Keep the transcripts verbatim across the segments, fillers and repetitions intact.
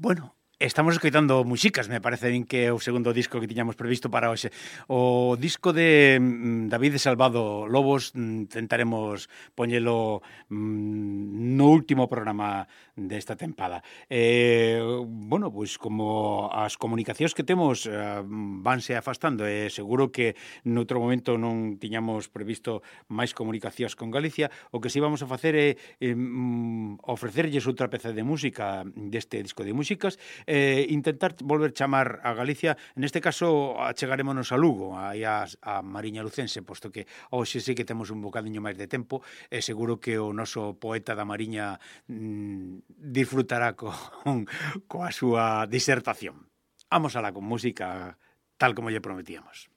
Bueno, estamos escoitando músicas, me parece bien que é o segundo disco que tiñamos previsto para hoxe. O disco de mm, David Salvado Lobos mm, tentaremos poñelo mm, no último programa desta tempada. Eh, bueno, pois como as comunicacións que temos eh, vanse afastando, e eh, seguro que noutro momento non tiñamos previsto máis comunicacións con Galicia, o que si vamos a facer é eh, mm, ofrecerlles outra peza de música deste disco de músicas, eh, intentar volver chamar a Galicia, neste caso achegarémonos a Lugo, aí a, a Mariña Lucense, posto que hoxe sí que temos un bocadiño máis de tempo, e seguro que o noso poeta da Mariña mm, disfrutará con, coa súa disertación. Vamos alá con música tal como lle prometíamos.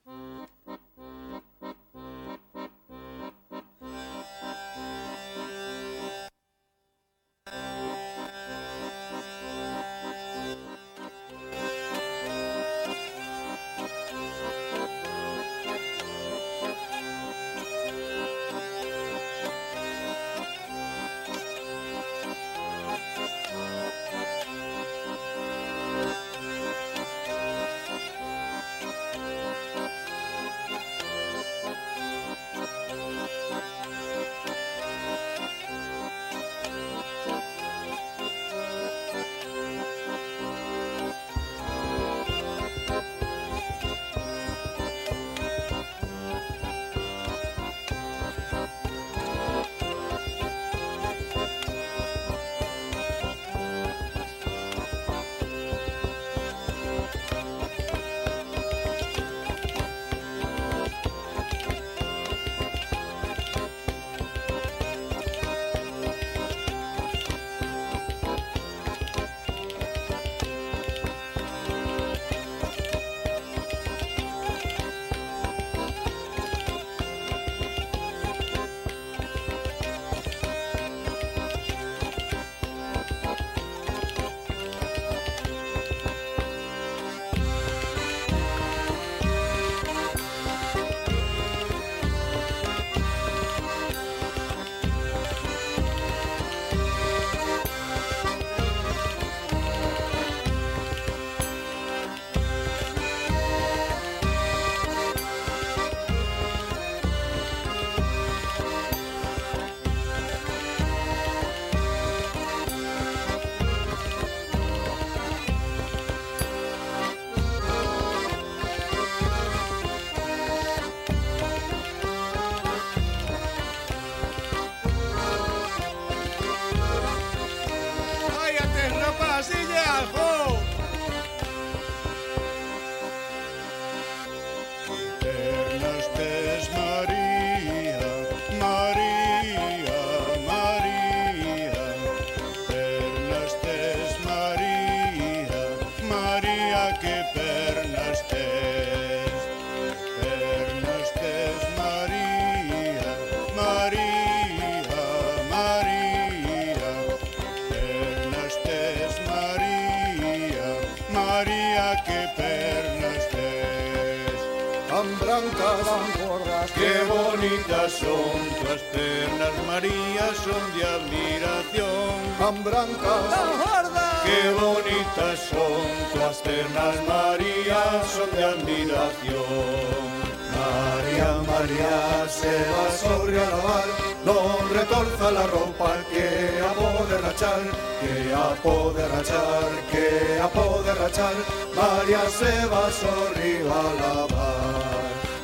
Qué bonitas son tuas pernas, María, son de admiración. Tan brancas, tan gordas. Qué bonitas son tuas pernas, María, son de admiración. María, María, se va sobre a lavar, non retorza la ropa que a pode rachar, que a pode rachar, que a pode rachar. María se va sobre a lavar.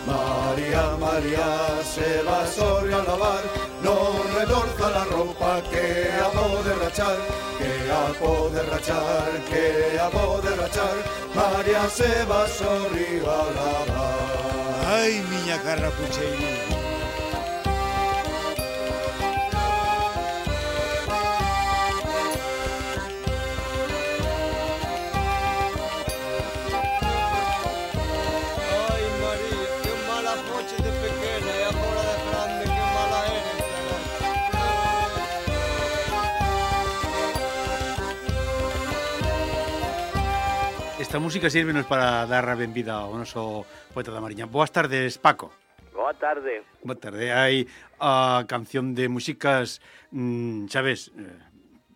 María, María, se va sobre a lavar, non retorza la ropa que a pode rachar, que a pode rachar, que a pode rachar. María se va sobre a lavar. Ai, miña carra pucheira. Esta música sírvenos para dar a benvida ao noso poeta da Mariña. Boas tardes, Paco. Boa tarde. Boa tarde. Hai a canción de músicas, mmm, sabes,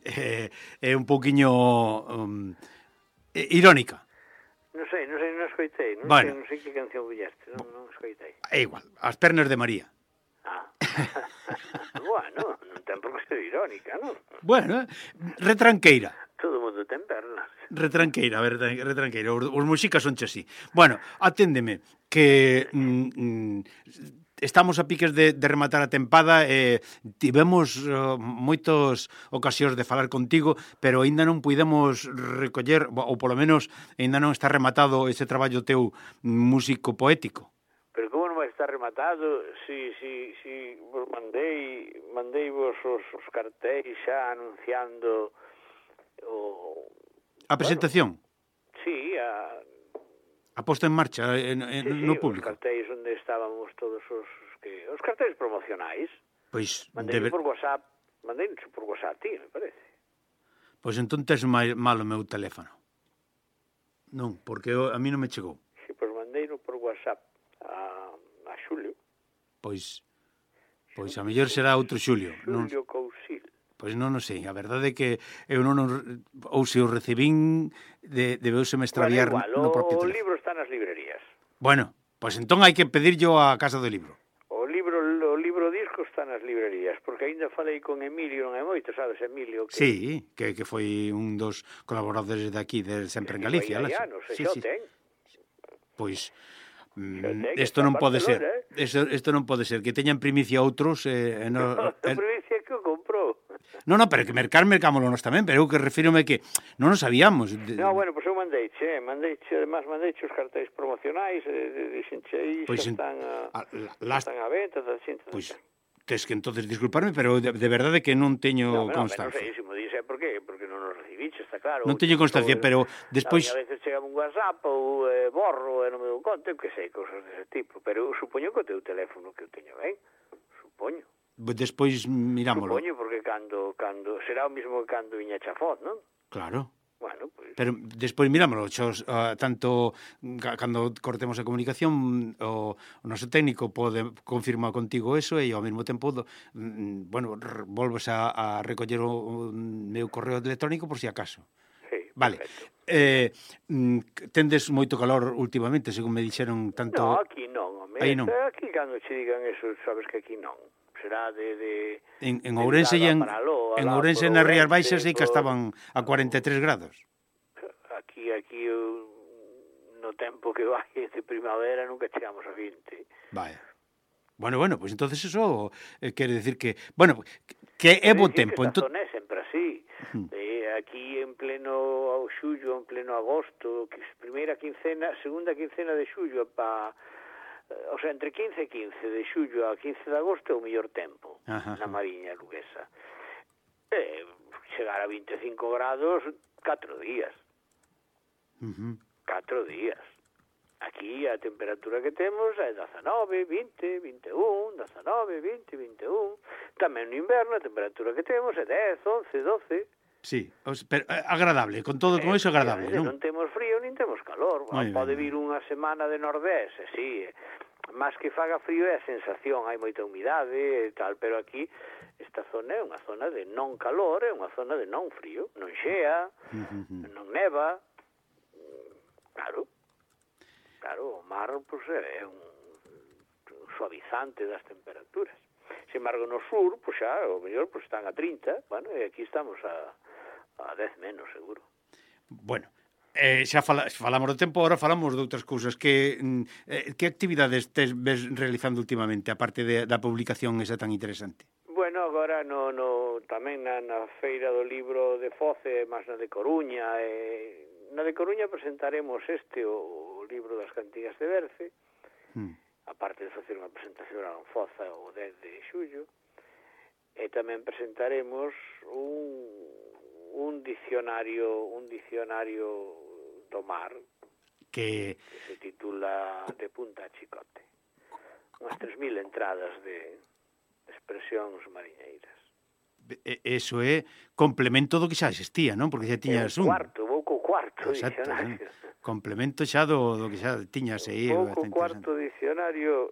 é eh, eh, un pouquiño um, eh, irónica. Non sei, non sei, non escoitei, non, bueno. sei, non sei que canción bulleste, non, non escoitei. É igual, As pernas de María. Ah, bueno, non ten por que ser irónica, non? Bueno, retranqueira. Todo mundo ten pernas. Retranqueira, a ver, retranqueira. Os, os músicas son así. Bueno, aténdeme, que mm, mm, estamos a piques de, de rematar a tempada e eh, tivemos uh, moitos ocasións de falar contigo, pero aínda non puidemos recoller, ou polo menos aínda non está rematado ese traballo teu músico poético. Pero como non vai estar rematado si, si, si vos mandei, mandei vos os, os cartéis xa anunciando o... A presentación? Bueno, sí, a... A posta en marcha en, en, sí, sí, no público? Os cartéis onde estábamos todos os... que Os cartéis promocionais. Pois... Mandei debe... por WhatsApp, mandei por WhatsApp, ti, me parece. Pois entón tes mal o meu teléfono. Non, porque eu, a mí non me chegou. Si, pois mandei por WhatsApp a, a Xulio. Pois pois a mellor será outro Xulio. Xulio Non, Cousil. pois non o sei, a verdade é que eu non ou se o recibín de, debeuse me extraviar bueno, igual, no propio o teléfono. libro está nas librerías. Bueno, pois entón hai que pedir yo a Casa do Libro. O libro o libro disco está nas librerías, porque aínda falei con Emilio, non é moito, sabes, Emilio? Que, Sí, que, que foi un dos colaboradores de aquí, de Sempre en Galicia. Que anos, sí, xa sí. o ten. Pois Mm, isto non pode ser. Isto, isto non pode ser que teñan primicia outros eh, no, no, eh, primicia que o comprou. No, no, pero que mercar mercámoslo nos tamén, pero eu que refírome que non nos sabíamos. No, bueno, pois pues eu mandeiche, eh, mandeiche, además mandeiche os cartéis promocionais, eh, dixenche aí, pois xa en, están a, a, la, están a venta, da xente. Pois tes que entonces disculparme, pero de, de verdade que non teño no, no, constancia. Non sei, se mo dixe, por qué? Porque non nos recibiche, está claro. Non teño constancia, ou, pero despois... A veces chega un WhatsApp ou eh, borro e non me dou conta, que sei, cousas dese tipo. Pero eu supoño que o teu teléfono que eu teño ben, supoño. Despois mirámoslo. Supoño, porque cando, cando será o mismo que cando viña Chafot, non? Claro. Bueno, pues... Pero despois mirámoslo, xos, uh, tanto ca, cando cortemos a comunicación o, o noso técnico pode confirmar contigo eso e ao mesmo tempo do, mm, bueno, r- volves a, a recoller o, o meu correo electrónico por si acaso. Sí, vale. Perfecto. Eh, mm, tendes moito calor últimamente, según me dixeron tanto... No, aquí non, home. Aí non. Aquí cando che digan eso, sabes que aquí non. Será de... de En, en de Ourense e en, Paraló, en alá Ourense por nas Rías Ourense, Baixas sei que por... estaban a cuarenta e tres grados. Aquí, aquí, eu, no tempo que vai de primavera, nunca chegamos a vinte. Vaya. Bueno, bueno, pues entonces eso eh, quere decir que, bueno, que é bo tempo. Que esta Ento... zona é sempre así. Uh-huh. Eh, aquí en pleno xullo, en pleno agosto, que primeira quincena, segunda quincena de xullo pa... O sea, entre quince e quince de xullo a quince de agosto é o mellor tempo. Ajá. Na Mariña Luguesa. Eh, chegar a vinte e cinco grados, catro días. Uh-huh. Catro días. Aquí a temperatura que temos é dezanove, vinte, vinte e un, dezanove, vinte, vinte e un. Tamén no inverno a temperatura que temos é dez, once, doce. Sí, pero agradable, con todo, con eso agradable, non? Non temos frío, nin temos calor. Muy Pode bien. Vir unha semana de nordés, e sí, máis que faga frío é a sensación, hai moita humidade e tal, pero aquí esta zona é unha zona de non calor, é unha zona de non frío, non xea, uh-huh. non neva. Claro, claro, o mar pues, é un suavizante das temperaturas. Sin embargo, no sur, pues xa, o mellor, pues están a trinta, bueno, e aquí estamos a, a dez menos, seguro. Bueno, eh, xa fala, falamos do tempo, agora falamos de outras cousas. Que, eh, que actividades tes ves realizando últimamente, aparte de, da publicación esa tan interesante? Bueno, agora no, no, tamén na, na Feira do Libro de Foce, máis na de Coruña, e... Na de Coruña presentaremos este, o, o libro das cantigas de Berce, mm. aparte de facer unha presentación a Foza o dez de xullo, e tamén presentaremos un, un dicionario un dicionario do mar que, que se titula De punta a chicote. Unhas tres mil entradas de expresións mariñeiras. Eso é complemento do que xa existía, non? Porque xa tiñas un... cuarto, vou co cuarto Exacto, dicionario. ¿no? Complemento xa do, do que xa tiñas aí. Vou co cuarto dicionario,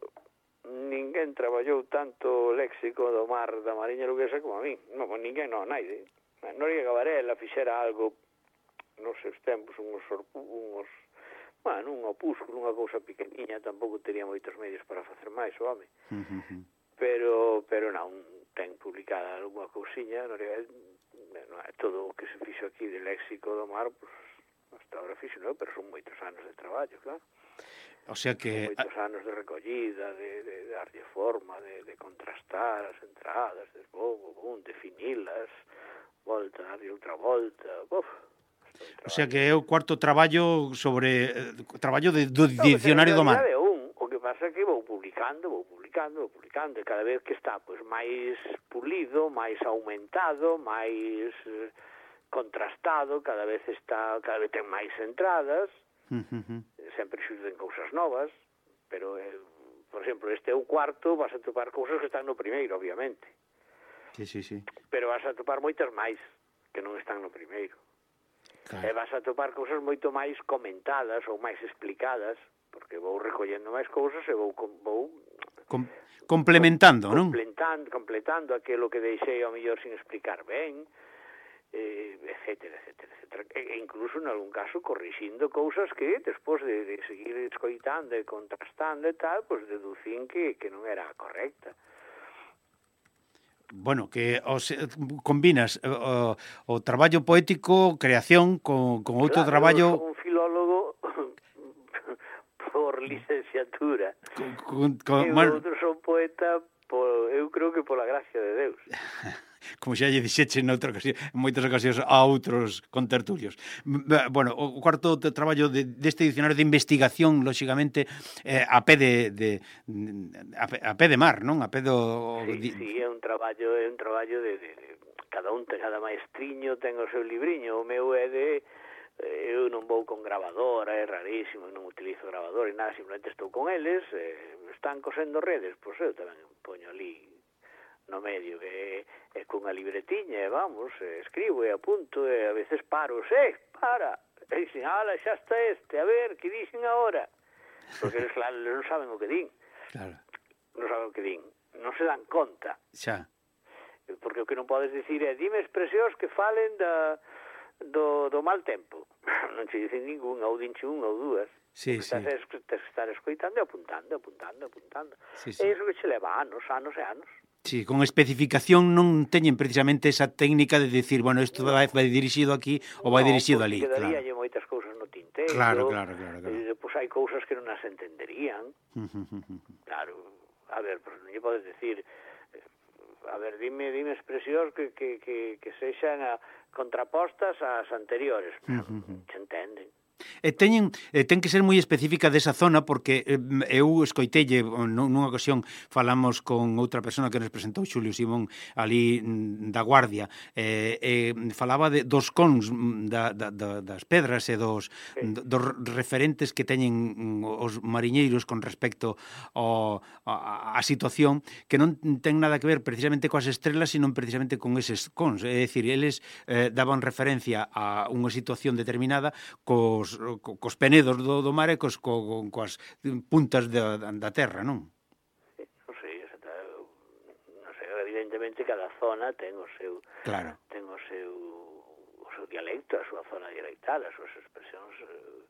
ninguén traballou tanto o léxico do mar da Mariña Luguesa como a mí. Non, ninguén, non, naide. Noriega Varela fixera algo nos seus tempos unhos, unhos bueno, un opúsculo, unha cousa pequeniña, tampouco tería moitos medios para facer máis o home. Uh-huh. Pero, pero non, ten publicada alguna cousiña, non é, non é todo o que se fixo aquí de léxico do mar, pues, hasta ahora fixo, non, pero son moitos anos de traballo, claro. O sea que... Moitos anos de recollida, de, de, de darlle forma, de, de contrastar as entradas, de, bom, bom, definilas, volta, darlle outra volta, buf. O sea que é o cuarto traballo sobre eh, traballo de, do dicionario do mar. É un, o que pasa é que vou publicando, vou publicando, vou publicando, e cada vez que está pois máis pulido, máis aumentado, máis eh, contrastado, cada vez está, cada vez ten máis entradas, uh-huh. Sempre xurden cousas novas, pero eh, por exemplo, este é o cuarto, vas a topar cousas que están no primeiro, obviamente. Sí, sí, sí. Pero vas a topar moitas máis que non están no primeiro. Claro. E vas a topar cousas moito máis comentadas ou máis explicadas, porque vou recollendo máis cousas e vou, vou Com, complementando, non? Completando, completando aquilo que deixei ao mellor sin explicar ben, eh, etcétera, etcétera, etcétera. E incluso, en algún caso, corrixindo cousas que, despois de, de seguir escoitando e contrastando e tal, pues deducín que, que non era correcta. Bueno, que os, combinas o, o traballo poético, creación, con, con outro claro, traballo... Eu son un filólogo por licenciatura. Con, con, con, e bueno, outro son poeta, por, eu creo que pola gracia de Deus. Como xa lle dixeche noutra ocasión, en moitas ocasións a outros contertulios. Bueno, o cuarto traballo de, deste dicionario de investigación, lóxicamente, eh, a pé de, de a, pé, a pé de mar, non? A pé do... Sí, sí, é un traballo, é un traballo de, de, de cada un, cada maestriño ten o seu libriño, o meu é de eu non vou con grabadora, é rarísimo, non utilizo grabadora e nada, simplemente estou con eles, eh, están cosendo redes, pois eu tamén poño ali no medio, que é cunha libretiña, e vamos, escribo e apunto, e a veces paro, eh, para, e dicen, ala, xa está este, a ver, que dicen agora? Porque eles, claro, non saben o que din. Claro. Non saben o que din, non se dan conta. Xa. Porque o que non podes dicir é, dime expresións que falen da, do, do mal tempo. Non che dicen ningún, ou dinche un ou dúas. Sí, sí. Tens que estar escoitando e apuntando, apuntando, apuntando. Sí, sí. E iso que che leva anos, anos e anos. Sí, con especificación non teñen precisamente esa técnica de decir, bueno, isto vai, vai dirixido aquí ou vai no, dirixido ali. Non, porque quedaríalle claro. Moitas cousas no tinteiro. Claro, claro, claro. claro. E depois hai cousas que non as entenderían. Claro, a ver, pues, non lle podes decir, a ver, dime, dime expresións que, que, que, que sexan a, contrapostas ás anteriores. Se entenden. E teñen, e ten que ser moi específica desa zona, porque eh, eu escoitelle nunha ocasión falamos con outra persona que nos presentou, Xulio Simón, ali da Guardia, e eh, eh, falaba de, dos cons da, da, da, das pedras e dos, sí. dos referentes que teñen os mariñeiros con respecto ao, a, a situación, que non ten nada que ver precisamente coas estrelas, sino precisamente con eses cons, é dicir, eles eh, daban referencia a unha situación determinada cos cos penedos do, do mar e cos, co, coas puntas da, da terra, non? Sí, non sei, non sei, evidentemente cada zona ten o seu claro. ten o seu o seu dialecto, a súa zona dialectal, as súas expresións eh,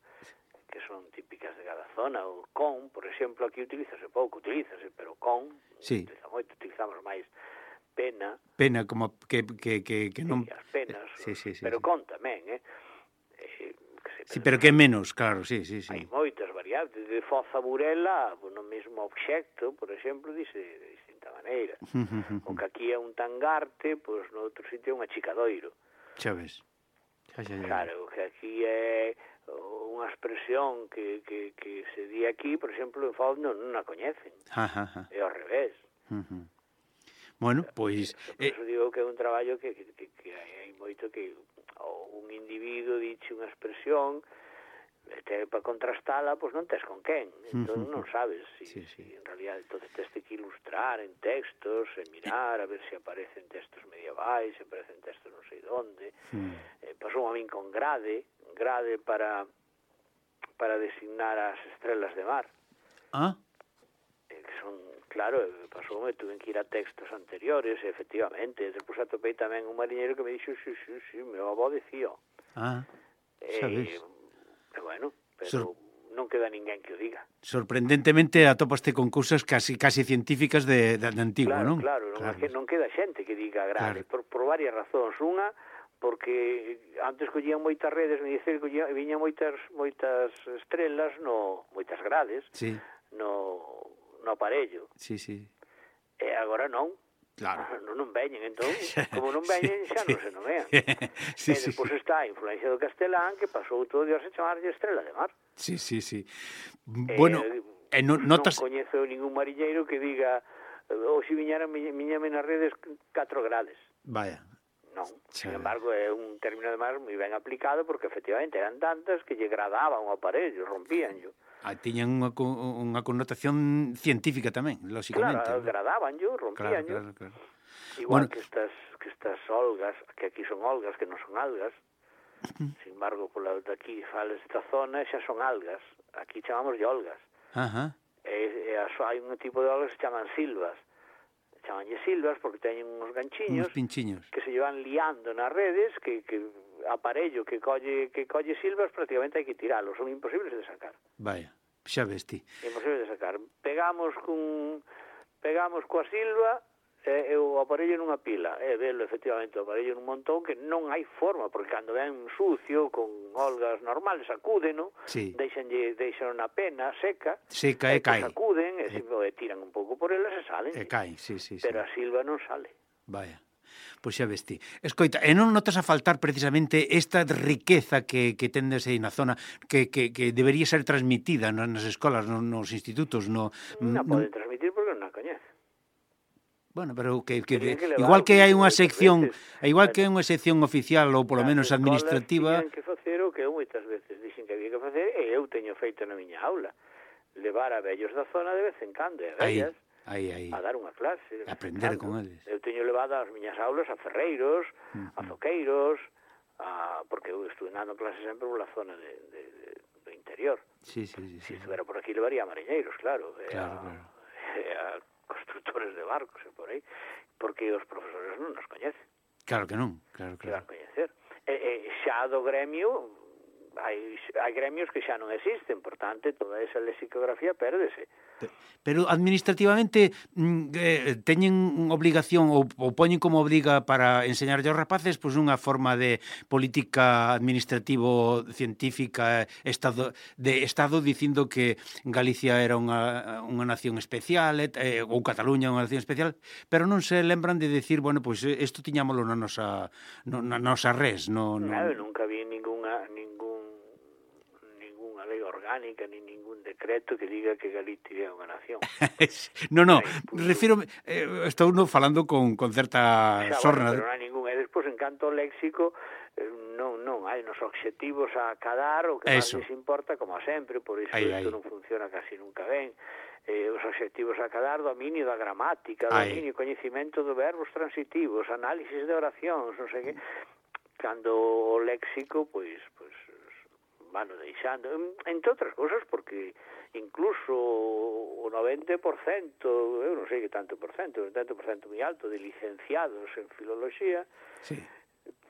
que son típicas de cada zona. O con, por exemplo, aquí utilízase pouco, utilízase, pero con sí. utiliza moito, utilizamos máis pena. Pena, como que, que, que, que non... Sí, as penas, sí, sí, sí, pero sí. con tamén, eh? eh Sí, pero que é menos, claro, sí, sí, sí. Hai moitas variantes, de foza burela, no mesmo obxecto, por exemplo, dice de distinta maneira. O que aquí é un tangarte, pois no outro sitio é un achicadoiro. Xa ves. Xa, xa, xa. Claro, que aquí é unha expresión que, que, que se di aquí, por exemplo, en Foz non, non a coñecen. Ajá, ajá. É ao revés. Uh-huh. Bueno, pois... Por iso eh... digo que é un traballo que, que, que, que hai moito que... ou un individuo diche unha expresión te, para contrastala, pois non tes con quen, entón non sabes si, sí, sí. si en realidad entonces tes que ilustrar en textos, en mirar a ver se aparecen textos medievais, se aparecen textos non sei onde. Mm. Eh, pasou a min con grade grade para para designar as estrelas de mar. Ah? Eh, que son, claro, pasou, me tuve que ir a textos anteriores, efectivamente, despois atopei tamén un mariñeiro que me dixo, sí, sí, sí, meu avó dicía. Ah. sabes. E, bueno, pero Sor... non queda ninguén que o diga. Sorprendentemente atópaste con cousas casi casi científicas de, de, de antigo, claro, non? Claro, non, claro. non queda xente que diga grave, claro. por, por varias razóns. Unha, porque antes collían moitas redes, me dicen que viñan moitas moitas estrelas, no moitas grades, sí. no, no aparello. Sí, sí. E agora non. Claro. Non, non veñen, entón, como non veñen, xa sí. non se nomean. Sí, e despois sí. está a influencia do castelán, que pasou todo Dios a chamarlle Estrela de Mar. Sí, sí, sí. Bueno, eh, eh, no, notas... non coñezo ningún mariñeiro que diga ou se viñera miñame nas redes catro grades. Vaya. Non, sin embargo, é un término de mar moi ben aplicado porque efectivamente eran tantas que lle gradaban o aparello, rompíanllo. Ah, tiñan unha, unha connotación científica tamén, lógicamente. Claro, ¿no? Gradabanllo, rompíanllo. Claro, claro, claro. Igual bueno, que estas que estas olgas, que aquí son olgas, que non son algas. Sin embargo, pola de aquí fales esta zona xa son algas. Aquí chamamos de olgas. Ajá. E, e hai un tipo de olgas que se chaman silvas. Chamanlle silvas porque teñen uns ganchiños que se llevan liando nas redes, que, que aparello que colle que colle silvas prácticamente hai que tiralo, son imposibles de sacar. Vaya, xa ves ti. Imposibles de sacar. Pegamos cun pegamos coa silva e, e o aparello nunha pila, e velo efectivamente o aparello nun montón que non hai forma, porque cando ven sucio con olgas normales sacúdeno, sí. deixanlle deixan na pena seca, seca e, e cae. Sacuden e, e... e tiran un pouco por elas e salen. E caen, sí, sí, pero sí. a silva non sale. Vaya. Pois xa ves ti. Escoita, e non notas a faltar precisamente esta riqueza que, que tendes aí na zona que, que, que debería ser transmitida nas escolas, nos, nos institutos, no... Non pode transmitir porque non a coñece. Bueno, pero que, que, de, que igual que hai unha sección, veces, igual que hai unha sección oficial ou polo menos administrativa... Tiñan que facer o que eu moitas veces dixen que había que facer e eu teño feito na miña aula. Levar a vellos da zona de vez en cando, e vellas, aí, aí. a dar unha clase. Aprender con eles. Eu teño levado as miñas aulas a ferreiros, uh-huh. a zoqueiros, a, porque eu estuve dando clases sempre pola zona de, de, de, do interior. Sí, sí, sí. Se sí, estuvera por aquí levaría a mariñeiros, claro. Claro, a, claro. a constructores de barcos e por aí, porque os profesores non nos coñecen. Claro que non, claro, claro. Que coñecer. E, e xa do gremio, hai, hai gremios que xa non existen, por tanto, toda esa lexicografía pérdese. Pero administrativamente eh, teñen obligación ou, ou poñen como obriga para enseñarlle aos rapaces pois unha forma de política administrativo científica estado, de Estado dicindo que Galicia era unha, unha nación especial eh, ou Cataluña unha nación especial, pero non se lembran de decir, bueno, pois isto tiñámoslo na nosa, no, na nosa res. No, no... Claro, nunca vi ninguna, ningún ninguna lei orgánica ni ningún decreto que diga que Galicia é unha nación. no, no, refiro eh, estou no falando con, con certa xa, sorna. Bueno, pero non hai ningún. E despois, en canto ao léxico, eh, non, non, hai nos obxectivos a cadar, o que máis les importa, como sempre, por iso ai, isto ai. non funciona casi nunca ben. Eh, os obxectivos a cadar, dominio da gramática, dominio e coñecimento de verbos transitivos, análisis de oracións, non sei que. Cando o léxico, pois, pois vano deixando, entre outras cousas, porque incluso o noventa por cento, eu non sei que tanto por cento, o noventa por cento moi alto de licenciados en filoloxía, sí.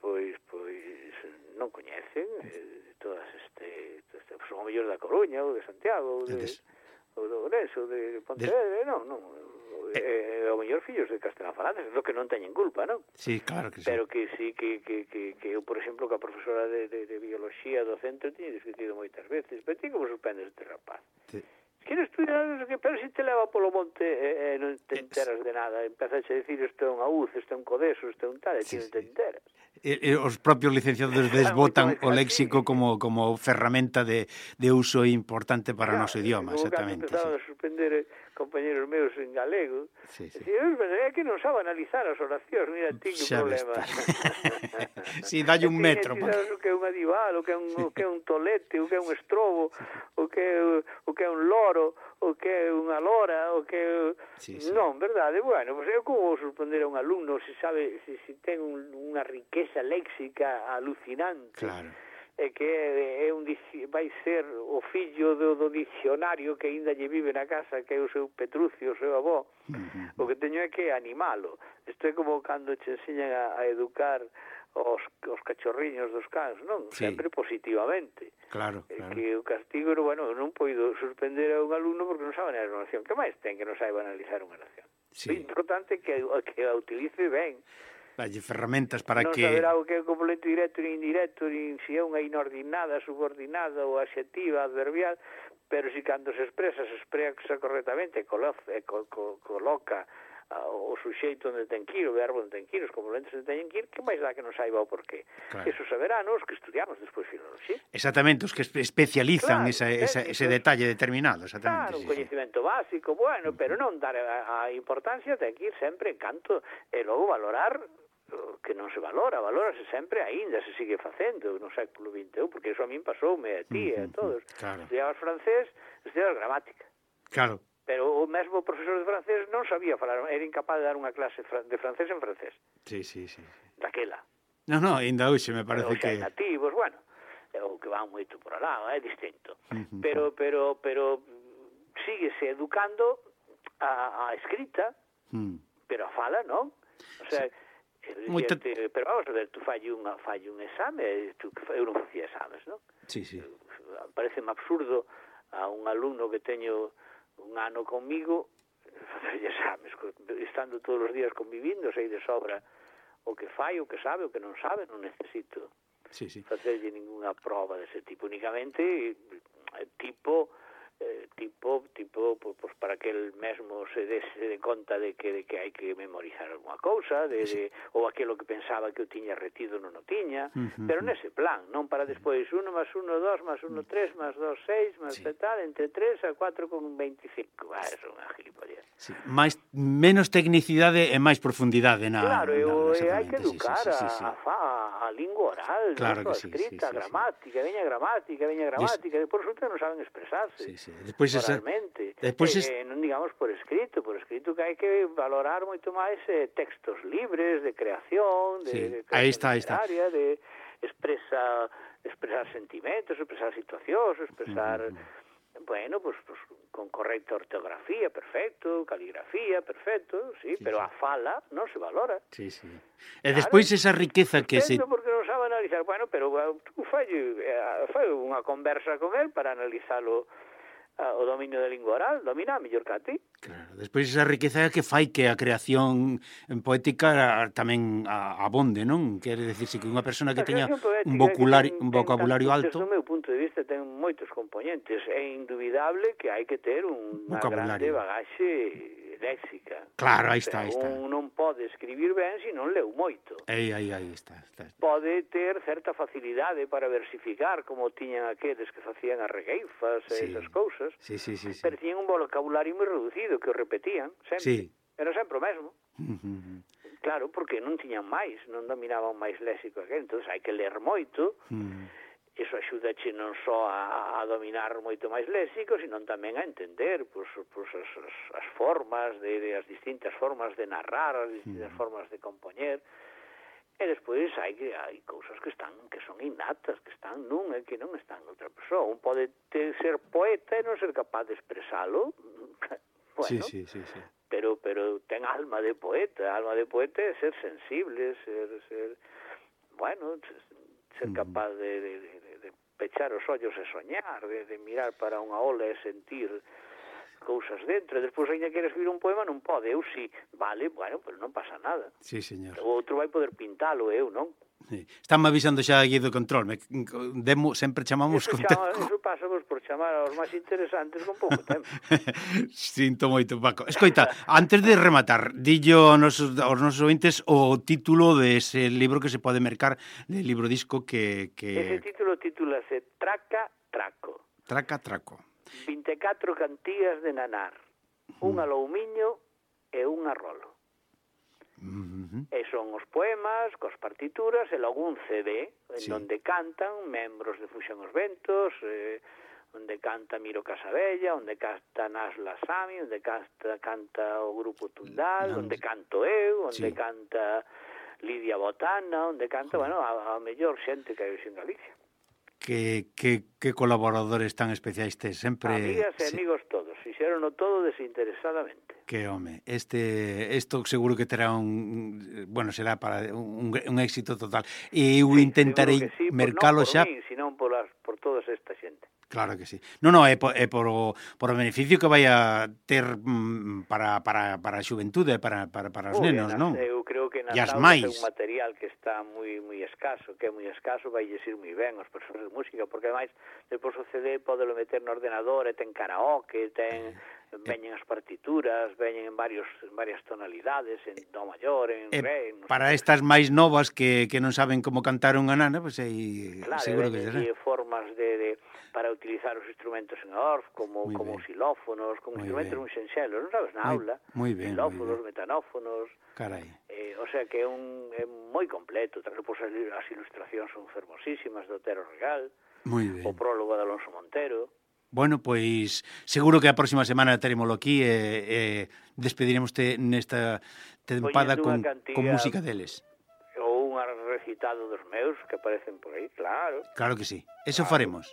pois pois non coñecen eh, todas este, este son o mellor da Coruña ou de Santiago ou de, ou de Ourense ou de Pontevedra, de... non, non, eh, eh, o mellor fillos de castelánfalantes, do que non teñen culpa, non? Sí, claro que sí. Pero que sí, que, que, que, que eu, por exemplo, que a profesora de, de, de biología do centro tiña discutido moitas veces, pero ti como sorprendes este rapaz? Sí. Queres estudiar, pero se te leva polo monte e, e non te enteras de nada, empezas a decir isto é un aúz, isto é un codeso, isto é un tal, e ti non te enteras. E, e os propios licenciados desbotan o léxico como como ferramenta de, de uso importante para o noso idioma, exactamente. Empezaron sí. a suspender compañeros meus en galego, sí, sí. Decía, é que non sabe analizar as oracións, mira, ti que problema. Si, dalle un metro. Ti sabes o que é un adival, o que é un, sí. o que é un tolete, o que é un estrobo, o que é, o que é un loro, o que é unha lora, o que é... Sí, sí. Non, verdade? Bueno, pues eu como vou sorprender a un alumno se sabe, se, se ten un, unha riqueza léxica alucinante. Claro. E que é, é un, vai ser o fillo do, do dicionario que ainda lle vive na casa, que é o seu Petrucio, o seu avó. Uh-huh. O que teño é que animalo. Isto é como cando che enseñan a, a educar os, os cachorriños dos cans, non? Sí. Sempre positivamente. Claro, claro. Que o castigo, bueno, non poido suspender a un alumno porque non sabe a oración. Que máis ten que non saiba analizar unha oración? Sí. O importante é que, que a utilice ben. Dalle ferramentas para non que... Non saberá o que é complemento directo ni indirecto, ni se é unha inordinada, subordinada ou adxetiva, adverbial, pero si cando se expresa, se expresa correctamente, coloca, coloca o suxeito onde ten que ir, o verbo onde ten que ir, os complementos onde teñen que ir, que máis dá que non saiba o porqué. Claro. Eso saberán os que estudiamos despois filoloxía. Exactamente, os que especializan claro, esa, esa, ese detalle determinado. Exactamente, claro, un sí, coñecimento sí. básico, bueno, pero non dar a, a importancia ten que ir sempre en canto e logo valorar que non se valora, valórase sempre aínda, se sigue facendo no século vinte e un, porque eso a min pasoume a ti e a todos. Claro. Estudiabas francés, estudiabas gramática. Claro. Pero o mesmo profesor de francés non sabía falar, era incapaz de dar unha clase de francés en francés. Sí, sí, sí. Daquela. No, no, ainda hoxe me parece pero, que... Os nativos, bueno, o que van moito por alá, é distinto. Uh-huh. Pero, pero, pero síguese educando a, a escrita, uh-huh. pero a fala, non? O sea, sí. Moita... te, pero vamos a ver, tú falle, unha, falle un exame, tú, eu non facía exames, non? Sí, sí. Pareceme absurdo a un alumno que teño un ano conmigo facer exames, estando todos os días convivindo, sei de sobra o que fai, o que sabe, o que non sabe, non necesito sí, sí. facerlle ninguna prova dese tipo, únicamente tipo eh, tipo tipo pues, para que el mesmo se dé de conta de que de que hai que memorizar alguna cousa, de, de ou aquilo que pensaba que o tiña retido non o tiña, uh-huh. pero nese plan, non para despois uno más uno, dos más uno, tres más dos, seis más sí. tal, entre tres a cuatro con veinticinco. Ah, eso é unha gilipollez. Sí. Mais, menos tecnicidade e máis profundidade na... Claro, na, e hai que educar sí, sí, sí, sí. A, a, a lingua oral, claro ¿no? A sí, escrita, sí, sí, gramática, sí. veña gramática, veña gramática, Des... e por resulta non saben expresarse. Sí, sí. Despois esa... Despois es... eh, non digamos por escrito, por escrito que hai que valorar moito máis eh, textos libres de creación, de, sí. de creación aí está, aí está. de expresa, expresar sentimentos, expresar situacións, expresar, uh-huh. bueno, pues, pues con correcta ortografía, perfecto, caligrafía, perfecto, sí, sí pero sí. a fala non se valora. Sí, sí. E despois claro, esa riqueza que se... porque non sabe analizar, bueno, pero tú fai, fai unha conversa con él para analizalo o dominio da lingua oral, domina mellor que a ti. Claro, despois esa riqueza que fai que a creación poética tamén abonde, non? Quere dicirse que unha persona que teña un vocabulario, un vocabulario alto... Desde o meu punto de vista ten moitos componentes. É indubidable que hai que ter unha grande bagaxe léxica. Claro, aí está, aí está. Un non pode escribir ben se non leu moito. Aí, aí, aí está, está. Pode ter certa facilidade para versificar, como tiñan aqueles que facían as regueifas e sí. esas cousas. Sí, sí, sí, sí. Pero tiñan un vocabulario moi reducido que o repetían sempre. Sí. Era sempre o mesmo. Uh-huh. Claro, porque non tiñan máis, non dominaban máis léxico aquel, entón hai que ler moito. Uh-huh. Iso axúdache non só a, a dominar moito máis léxico, sino tamén a entender pues, pues, as, as formas, de, de as distintas formas de narrar, as distintas mm. formas de compoñer. E despois hai, hai cousas que están que son innatas, que están nun e que non están noutra persoa. Un pode ter, ser poeta e non ser capaz de expresalo. Bueno, sí, sí, sí, sí. Pero, pero ten alma de poeta. Alma de poeta é ser sensible, ser... ser bueno... ser capaz de, de, de, de pechar os ollos e soñar, de, de mirar para unha ola e sentir cousas dentro. E despois, ainda quere escribir un poema, non pode. Eu sí, vale, bueno, pero non pasa nada. Sí, señor. O outro vai poder pintalo, eu non. Sí. Estánme avisando xa aquí do control. Me, demo, sempre chamamos eso con chama, tempo. Eso pasa vos por chamar aos máis interesantes con pouco tempo. Sinto moito, Paco. Escoita, antes de rematar, dillo aos nosos, aos nosos ointes o título dese libro que se pode mercar, de libro disco que... que... Ese título titúlase Traca Traco. Traca Traco. vinte e catro cantías de nanar, un uh-huh. aloumiño e un arrolo. Uh-huh. E son os poemas, cos partituras, e logo un C D, en sí. onde cantan membros de Fuxan os Ventos, eh, onde canta Miro Casabella, onde canta Nasla Sami, onde canta, canta o Grupo Tundal, no, onde canto eu, onde sí. canta Lidia Botana, onde canta, sí. bueno, a, a mellor xente que hai en Galicia. que, que, que colaboradores tan especiais tes, sempre... Amigas e sí. amigos todos, fixerono todo desinteresadamente. Que home, este isto seguro que terá un, bueno, será para un, un éxito total. E eu sí, intentarei sí, mercalo non por xa. Mí, sino por las por toda esta xente. Claro que sí. No, no, é por, é por, o, por o beneficio que vai a ter mm, para, para, para a xuventude, para, para, para os Muy nenos, bien, non? Eu creo que nas E as aulas máis. é un material que está moi moi escaso, que é moi escaso, vai ir moi ben aos profesores de música, porque ademais depois o C D podelo meter no ordenador e ten karaoke, ten veñen as partituras, veñen en varios en varias tonalidades, en do maior, en E re, no para sei, estas máis novas que, que non saben como cantar unha nana, pois pues aí claro, seguro que será. Claro, formas de, de para utilizar os instrumentos en orf, como Muy como bien. xilófonos, como Muy instrumentos bien. un xenxelos, non sabes, na Muy- aula, muy bien, xilófonos, muy bien. metanófonos, Carai. eh, o sea que é un é moi completo, tamén pois as as ilustracións son fermosísimas do Otero Regal, Moi ben. o prólogo de Alonso Montero. Bueno, pois seguro que a próxima semana terémolo aquí e, e despediremos te nesta tempada Poñendo con, unha cantidad- con música deles. Ou un recitado dos meus que aparecen por aí, claro. Claro que sí. Eso Claro. faremos.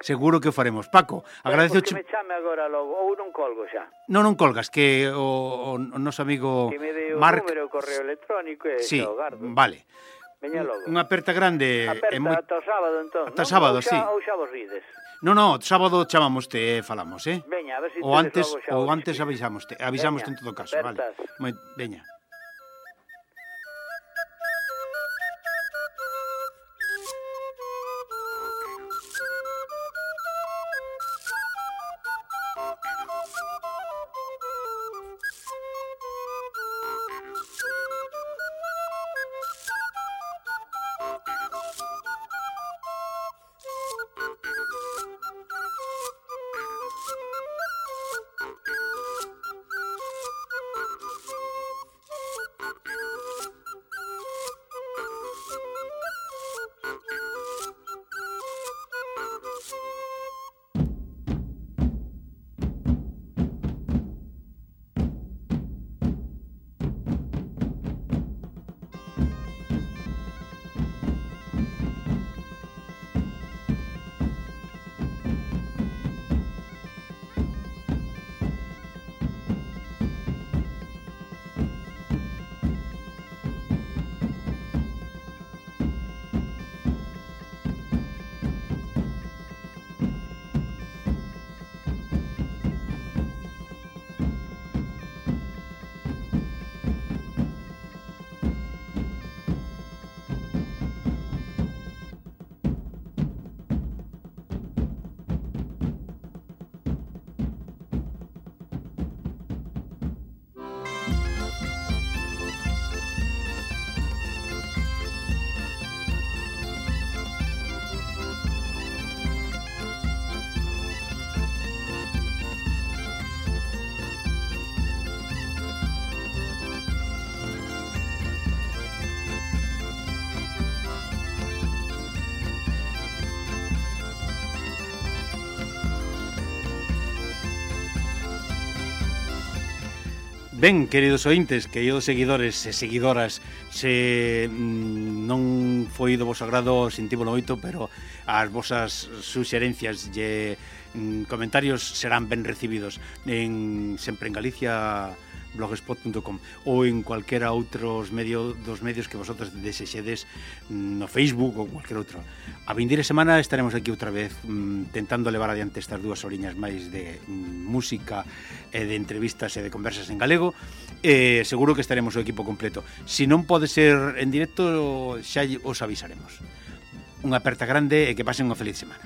Seguro que o faremos. Paco, agradezo... Que me chame agora logo, ou non colgo xa. Non, non colgas, que o, o, o noso amigo Que me dé o Marc... número, o correo electrónico e Sí, xa o gardo. vale. Veña logo. Unha aperta grande Aperta e moi... ata o sábado, entón. Ata non? sábado, Ou xa, sí. Ou xa vos rides. No, no, sábado chamamoste e falamos, eh? Veña, a ver se Ou tedes antes, logo xa ou o antes disco. avisamoste, avisamoste Veña, en todo caso, vale. apertas. Moi, veña. Ben, queridos ointes, queridos seguidores e seguidoras, se mm, non foi do vosso agrado, sentímolo moito, pero as vosas suxerencias e mm, comentarios serán ben recibidos en sempre en Galicia blogspot punto com ou en cualquera outros medio dos medios que vosotros desexedes no Facebook ou cualquier outro. A vindeira semana estaremos aquí outra vez mm, tentando levar adiante estas dúas horiñas máis de mm, música e de entrevistas e de conversas en galego e seguro que estaremos o equipo completo. Se non pode ser en directo xa os avisaremos. Unha aperta grande e que pasen unha feliz semana.